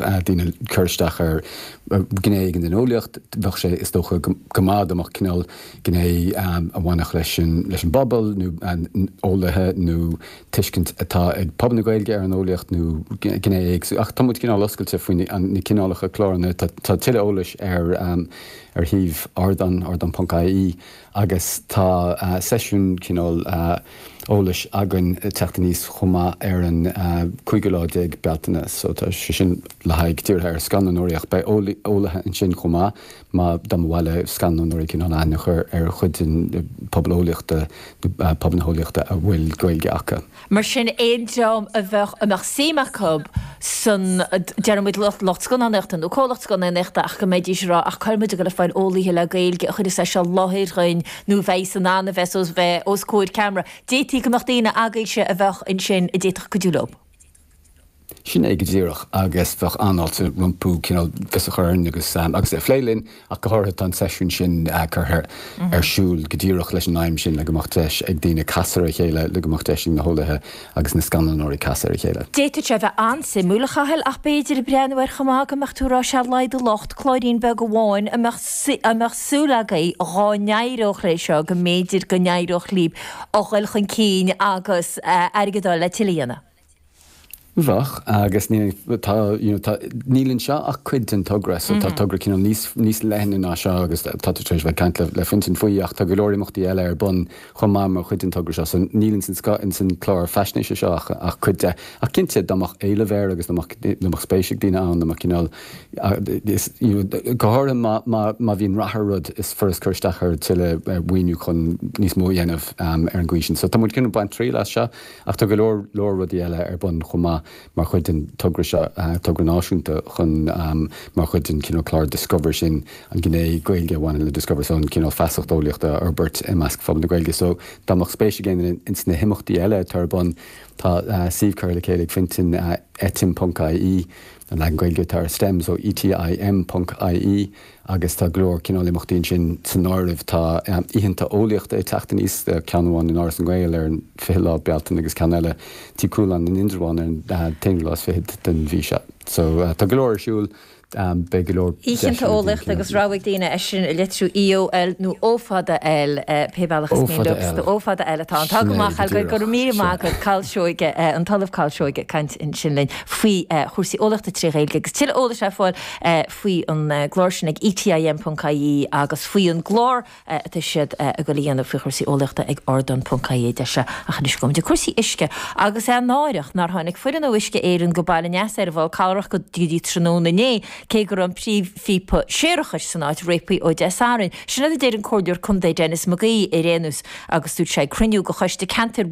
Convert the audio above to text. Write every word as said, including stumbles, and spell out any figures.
daoine cur isteach ar gné éigin den eolaíocht, bheadh sé is dócha go maith dá mbeadh cineál gné a bhainfeadh leis an leis an bpobal nó eolaithe nó tuiscint atá ag pobal na Gaeilge ar an eolaíocht nó gné éagsúil. Ach tá muid cineál oscailte faoi na cineálacha cláranna tá tuilleadh eolais ar ar shuíomh Ardán ardán ponc I E agus tá seisiún cineál eolais againn teacht aníos chomh maith ar an cúigiú lá déag Bealtaine, so tá sé sin le haghaidh dírithe ar scannánóireacht. Beidh eolaithe ansin chomh maith má dá mba mhaith le scannánóirí cineál aithne a chur ar chuid den pobal eolaíochta pobal na heolaíochta a bhfuil Gaeilge acu. Mar sin aon dream a bheadh a mbeadh suim acu san deir muid lucht scannánaíochta nó comhlacht scannánaíochta ach go mbeidís rá ach cá bhfuil muid ag dul a fáil eolaithe le Gaeilge a chuirfeas é seo i láthair dhúinn nó bheith san an a bheith os bheith os comhair ceamara. D'fhéadfaí go mbeadh daoine agaibhse a bheadh ansin a d'fhéadfadh cuidiú leo. Sin é go díreach agus bheadh an-fháilte rompu cineál fios a chur orainn agus agus é a phlé linn ach go háirithe tá an seisiún sin curtha ar siúl go díreach leis an aidhm sin le go mbeadh deis ag daoine casadh ar a chéile le go mbeadh deis ag na heolaithe agus na scannánóirí casadh ar a chéile. D'fhéadfadh sé bheith an-suimiúil a Chathail ach b'fhéidir breathnú ar chomh maith go mbeadh tú rá sé laghad lucht cláirín beag amháin a mbeadh a mbeadh súil agaibh dhá n-éireodh leis seo go mb'fhéidir go n-éireodh libh a dhul chun cinn agus airgead a fháil le tuilleadh a dhéanamh. Bheadh agus ní tá you know, tá níl anseo ach cuid den togra so tá togra cineál níos níos leithne ná seo agus tá tú tar éis bheith caint le, le Fintan faoi ach tá go leor imeachtaí eile ar bun chomh maith mar chuid den togra seo so níl in san san clár faisnéise seo ach, ach cuid de ach cinnte dá mbeadh éileamh air agus dá mbeadh spéis ag daoine ann dá mbeadh cineál you know, go háirithe má má má bhíonn rath ar rud is furast cur isteach ar tuilleadh maoiniú chun níos mó a dhéanamh um, ar an gcaoi sin. So tá muid cineál baint triail as seo ach tá go leor leor rudaí eile ar bun chomh maith mar chuid den togra seo uh, togra náisiúnta chun um, mar chuid den cineál clár Discover sin an gné Gaeilge a bhaineann le Discover so an cineál feasacht eolaíochta a fhorbairt i measc phobal na Gaeilge. So dá mbeadh spéis ag éinne ins na himeachtaí eile atá ar bun tá uh, suíomh curtha le chéile ag Fintan uh, etim ponc I E an leagan Gaeilge atá ar STEM so E T I M ponc I E agus tá go leor cineál imeachtaí sin san áireamh tá um, oícheanta eolaíochta ag teacht aníos ceann amháin in Áras na nGael ar an fiche lá Bealtaine agus ceann eile Tigh Chualáin in Indreabhán ar an uh, t-aonú lá fichead den mhí seo. So uh, tá go leor ar siúl um, beidh go leor Oícheanta eolaíochta agus rabhaidh daoine é sin a litriú E O L nó O fada L pé bealach is mian O fada L atá tá go maith go mí agat Cathal Seoige an tOllamh Cathal Seoige caint ansin linn faoi chúrsaí eolaíochta trí Ghaeilge agus tuilleadh eolais ar fáil faoi an gclár sin ag E T I M ponc I E agus faoi an gclár atá siad ag dul a dhéanamh faoi chúrsaí eolaíochta ag ardán ponc I E deise ach anois go dtí cúrsaí uisce agus é náireach nár tháinig foireann ó Uisce Éireann go Baile an Easa ar Bhál Calrach go dtí tráthnóna inné cé go raibh an príomhphíopa séarachais san áit réabtha ó Dé Sathairn. Sin a deir an Comhairleoir Contae Denis McGee ar aon nós agus dúirt sé cruinniú de choiste ceantair